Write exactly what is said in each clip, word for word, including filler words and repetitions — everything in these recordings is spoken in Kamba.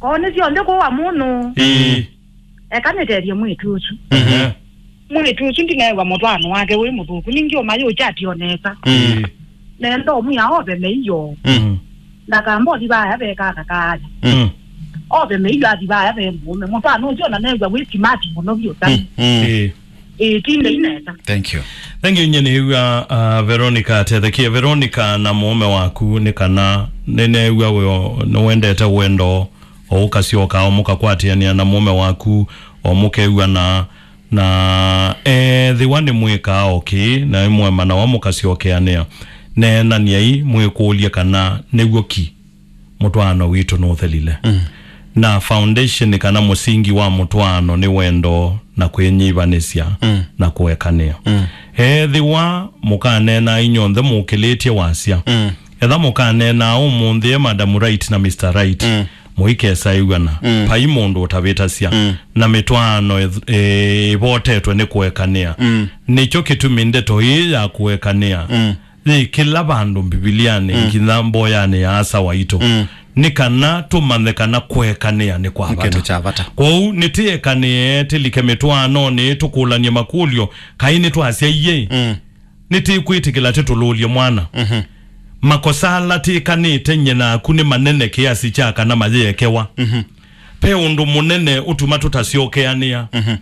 Koo nĩ syonthe kũwa mũno. Ĩĩ. Eka nĩtethye mwĩĩtu ũsu. Mhm. Mwĩĩtu ũsu ndinew'a mũtwaano wake wĩ mũthũku. Ningĩ ũmayũkyati o nesa. Mm. Nenda ũmwĩa ove mĩio. Mm. Ndakamba ũthi vaya ve kaka kaaya. Mm. Ove mĩio athi vaya ve mũũme. Mũtwaano ũsu ona new'a wĩ simati mũno vyũ sana. Mm. Mm. Ĩĩ. Ĩĩ, tindei nesa. Thank you. Thank you, nyie nĩw'a, uh, Veronica atethekie. Veronica na mũũme waku nĩ kana nĩnew'a wĩ o, nĩwendete wendo o ũkasyoka o mũkakwatĩanĩa na mũũme waku o mũkew'ana na ethĩwa nĩmwĩkaa o kĩĩ na ĩmwemanawa mũkasyokeanĩa, neenany'ai mwĩkũlye kana nĩw'o ki mũtwaano witũ nũthelile. Mm. Na foundation kana mũsingi wa mũtwaano nĩ wendo na kwĩnyivanĩsya Mm. na kũekanĩa. Mm. Ethĩwa mũkaneena inyonthe mũkĩlĩtye wasya, Mm. etha mũkaneena ũmũnthĩ e Madam Right na Mister Right, Mm. mũikesaĩw'ana, Mm. vai mũndũ ũtavĩtasya, Mm. na mĩtwaano ĩth- ĩ- ĩvotetwe nĩ kũekanĩa. Mm. Nĩkyo kĩtumi ndeto ĩĩ ya kũekanĩa Mm. yĩ kĩla vandũ Mbivilianĩ, Mm. nginya mboyanĩ ya asa waitũ. Mm. Nĩ kana tũmanye kana kũekanĩa nĩ kwa Nĩ vata. Kĩndũ kya vata. Kwoou nĩtĩekanĩe, tĩlike mĩtwaanonĩ, tũkũlany'e makũlyo, kaĩ nĩtwasyaie? Mm. Nĩtĩkwĩtĩkĩla tĩtũlũlye mwana? Mhm. Makosa ala tĩkanĩte nyie naku nĩ manene kĩasi kya kana mayĩekewa? Mhm. Ve ũndũ mũnene ũtuma tũtasyokeanĩa? Mhm.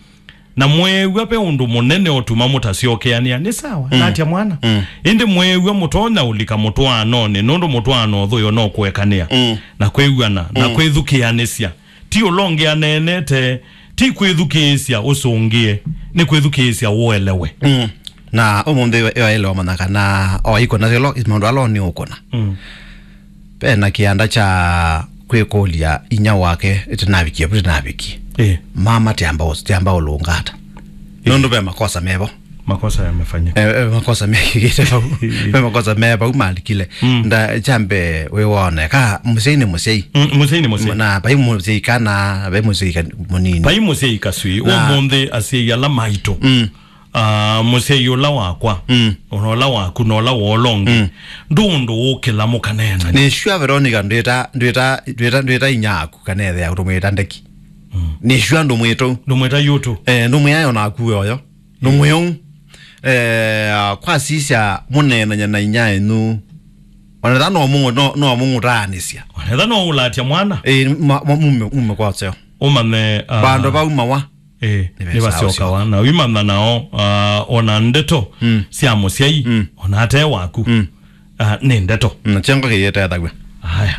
Na mweew'a ve ũndũ mũnene ũtuma mũtasyokeanĩa, nĩ sawa, Mm. natya mwana. Mm. Ĩndĩ mweew'a mũtonya ũlika mũtwaanonĩ, nũndũ mũtwaano ũthũyo no kũekanĩa, Mm. na kwĩw'ana, na Mm. kwĩthukĩanĩsya. Ti ũla ũngĩ aneenete, ti kwĩthukĩĩsya ũsũngĩe, nĩ kwĩthukĩĩsya ũelewe. Mm. Na ũmũnthĩ ĩwaĩle wamanya kana o ikũna ĩlo maũndũ ala nĩ ũkũna. Mm. Ve na kĩanda kya kwĩkũlya inya wake ĩtĩnavikie vu tĩnavikie. Eh. Mama tiamba ũs- tiamba ũlũngata. Eh. Nũndũ ve makosa mevo. Makosa yamefanyika. Eh, eh, makosa mekĩkĩte vau. Ve makosa me vau malikile. Mm. Nda kyambe wĩwone ka mũsyai nĩ mũsyai. Mm, mũsyai nĩ mũsyai. Na vai mũsyai kana vai mũsyai ka- mũnini. Vai mũsyai kasui. Na ũmũnthĩ asyai ala maitũ. Mm. Ah, mũsyai ũla wakwa, Mm. ona ũla waku, na ũla wa ũla ũngĩ. Mm. Ndũ ũndũ ũkĩla mũkaneena. Nĩ sure Veronica ndwĩta, ndwĩta, ndwĩta, ndwĩta inya aku kana ĩthe yaku ndũmwĩta ndeki. Mm. Nĩ sure ndũmwĩta ũu. Ndũmwĩta yũtũ. Eh, ndũmwĩa yo naku oyo. Ndũmwĩa ũu. Eh, kwasisya mũneenanya na inya enyu. Ona tha no mũng'ũ-, no, no mũng'ũtaanĩsya. Ona tha no ũlatya mwana. Eh, ma- ma- mume, mume kwa ũseo. Ũmanye, ah, vandũ vau mawa. Ĩĩ, nĩvasyokawa na wimanya nao, ah, ona ndeto Mm. sya mũsyai, Mm. ona ate waku, Mm. ah, nĩ ndeto. Na kyengo kĩyĩtethaw'a. Aya.